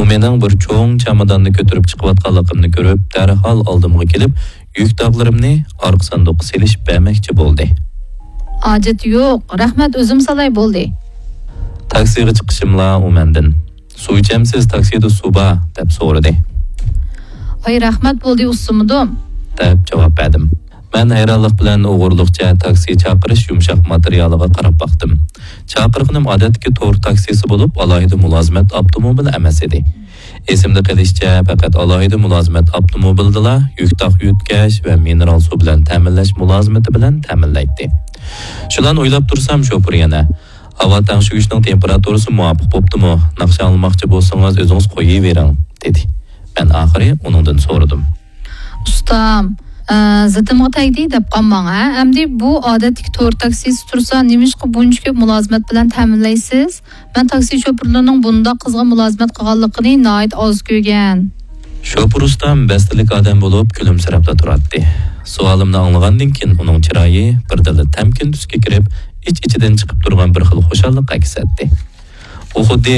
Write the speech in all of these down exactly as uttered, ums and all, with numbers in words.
مېنىڭ بىر چوڭ چاماداننى كۆتۈرۈپ چىقىۋاتقانلىقىمنى كۆرۈپ، دەرھال ئالدىمغا كېلىپ، يۈك داغلىرىمنى ئارقا ساندۇققا سېلىشىپ بەرمەكچى بولدى. ھاجەت يوق، رەھمەت، ئۆزۈم سالاي بولدى. تاكسىغا چىقىشىملا ئۇ مەندىن، «سۇ ئىچەمسىز، تاكسىدا سۇ بار؟» دەپ سورىدى. «ۋاي، رەھمەت بولدى، ئۇسسىمىدىم.» دەپ جاۋاب بەردىم. مەن ھەيرانلىق بىلەن ئوغرىلىقچە تاكسى چاقىرىش يۇمشاق ماتېرىيالىغا قاراپ باقتىم. چاقىرغىنىم ئادەتتىكى تور تاكسىسى بولۇپ، ئالاھىدە مۇلازىمەت ئاپتوموبىلى ئەمەس ئىدى. ئېسىمدە قېلىشىچە، پەقەت ئالاھىدە مۇلازىمەت ئاپتوموبىلىدىلا يۈك تاق يۆتكەش ۋە مىنېرال سۇ بىلەن تەمىنلەش مۇلازىمىتى بىلەن تەمىنلەيتتى. شۇلارنى ئويلاپ تۇرسام، شوپۇر يەنە، «ھاۋا تەڭشىگۈچنىڭ تېمپېراتۇرىسى مۇۋاپىق بوپتۇمۇ؟ ناخشا ئاڭلىماقچى بولسىڭىز، ئۆزىڭىز قويۇۋېرىڭ» دېدى. مەن ئاخىرى ئۇنىڭدىن سورىدىم. «ئۇستام، ئە، زىتىمغا تەگدى دەپ قالماڭ، ھە؟ ئەمدى بۇ ئادەتتىكى تور تاكسىسى تۇرسا، نېمىشقا بۇنچە كۆپ مۇلازىمەت بىلەن تەمىنلەيسىز؟ مەن تاكسى شوپۇرلىرىنىڭ بۇنداق قىزغىن مۇلازىمەت قىلغانلىقىنى ناھايىتى ئاز كۆرگەن.» شوپۇر ئۇستام بەستلىك ئادەم بولۇپ، كۈلۈمسىرەپلا تۇراتتى. سوئالىمنى ئاڭلىغاندىن كېيىن، ئۇنىڭ چىرايى بىردىنلا تەمكىن تۈسكە كىرىپ، ئىچ-ئىچىدىن چىقىپ تۇرغان بىر خىل خۇشاللىق ئەكس ئەتتى. ئۇ خۇددى،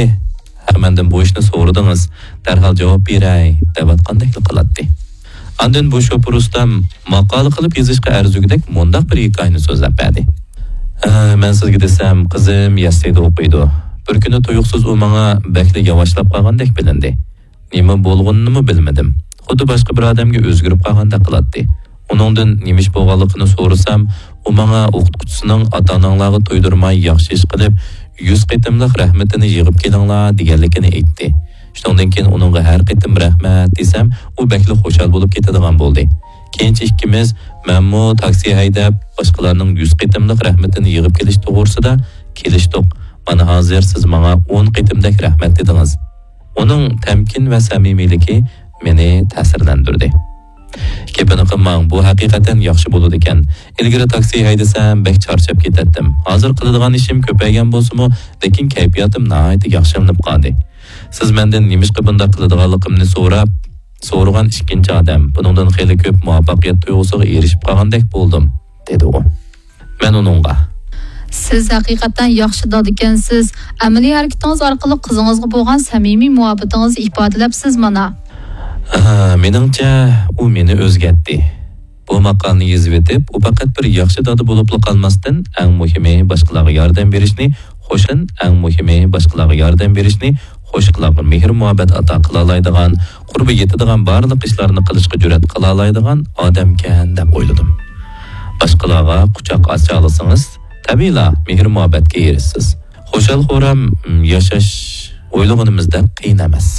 «ھە، مەندىن بۇ ئىشنى سورىدىڭىز، دەرھال جاۋاب بېرەي» دەۋاتقاندەكلا قىلاتتى. ئاندىن بۇ شوپۇر ئۇستام ماقالە قىلىپ يېزىشقا ئەرزىگۈدەك مۇنداق بىر ھېكايىنى سۆزلەپ بەردى. «ھە، مەن سىزگە دېسەم، قىزىم يەسلىدە ئوقۇيدۇ. بىر كۈنى تۇيۇقسىز ئۇ ماڭا بەكلا ياۋاشلاپ قالغاندەك بىلىندى. نېمە بولغىنىنىمۇ بىلمىدىم. خۇددى باشقا بىر ئادەمگە ئۆزگىرىپ قالغاندەك قىلاتتى. ئۇنىڭدىن نېمە ئىش بولغانلىقىنى سورىسام، ئۇ ماڭا ئوقۇتقۇچىسىنىڭ ئاتا-ئاناڭلارغا تۇيدۇرماي ياخشى ئىش قىلىپ، يۈز قېتىملىق رەھمىتىنى يىغىپ كېلىڭلار دېگەنلىكىنى ئېيتتى. شۇنىڭدىن كېيىن ئۇنىڭغا ھەر قېتىم رەھمەت دېسەم، ئۇ بەكلا خۇشال بولۇپ كېتىدىغان بولدى. كېيىنچە ئىككىمىز، مەنمۇ تاكسى ھەيدەپ، باشقىلارنىڭ يۈز قېتىملىق رەھمىتىنى يىغىپ كېلىش توغرىسىدا كېلىشتۇق. مانا ھازىر سىز ماڭا ئون قېتىمدەك رەھمەت دېدىڭىز.» ئۇنىڭ تەمكىن ۋە سەمىمىيلىكى مېنى تەسىرلەندۈردى. «گېپىنى قىلماڭ، بۇ ھەقىقەتەن ياخشى بولىدىكەن. ئىلگىرى تاكسى ھەيدىسەم، بەك چارچاپ كېتەتتىم. ھازىر قىلىدىغان ئىشىم كۆپەيگەن بولسىمۇ، لېكىن كەيپىياتىم ناھايىتى ياخشىلىنىپ قالدى. سىز مەندىن نېمىشقا بۇنداق قىلىدىغانلىقىمنى سوراپ، سورىغان ئىككىنچى ئادەم. بۇنىڭدىن خېلى كۆپ مۇۋەپپەقىيەت تۇيغۇسىغا ئېرىشىپ قالغاندەك بولدۇم»، دېدى ئۇ. مەن ئۇنىڭغا، «سىز ھەقىقەتەن ياخشى دادىكەنسىز. ئەمەلىي ھەرىكىتىڭىز ئارقىلىق قىزىڭىزغا بولغان سەمىمىي مۇھەببىتىڭىزنى ئىپادىلەپسىز مانا.» ھە، مېنىڭچە، ئۇ مېنى ئۆزگەرتتى. بۇ ماقالىنى يېزىۋېتىپ، ئۇ پەقەت بىر ياخشى دادا بولۇپلا قالماستىن، ئەڭ مۇھىمى باشقىلارغا ياردەم بېرىشنى، خوشەن، ئەڭ مۇھىمى باشقىلارغا ياردەم بېرىشنى، خوشلۇقلارغا مېھىر-مۇھەببەت ئاتا قىلالايدىغان، قۇربى يېتىدىغان بارلىق ئىشلارنى قىلىشقا جۈرئەت قىلالايدىغان ئادەمكەن دەپ ئويلىدىم. باشقىلارغا قۇچاق ئاچالىسىڭىز، تەبىئىيلا مېھىر-مۇھەببەتكە ئېرىشىسىز. خۇشال-خۇرام ياشاش ئويلىغىنىمىزدەك قىيىن ئەمەس.